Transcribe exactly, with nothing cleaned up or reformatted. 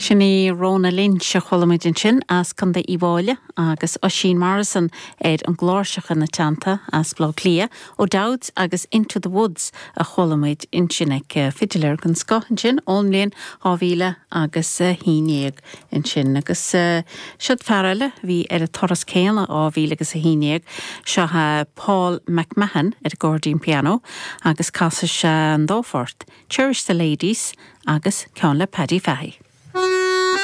Sin í Rona Lynch a chuala muid ansin as Contae Uíbh Fhailí agus Oisín Morrison ar an gcláirseach ina teannta as Baile Átha Cliath O'Dowds agus Into the Woods a chuala muid ansin ag fidiléir den scoth ansin ón mbliain dhá mhíle agus a haon déag ansin agus siod fear eile bhí ar an turas céanna dhá mhíle agus a haon déag seo Paul McMahon ar an gcairdín piano agus casfaidh sé an dá phort, Cherish the Ladies agus ceann le Paddy Fahey.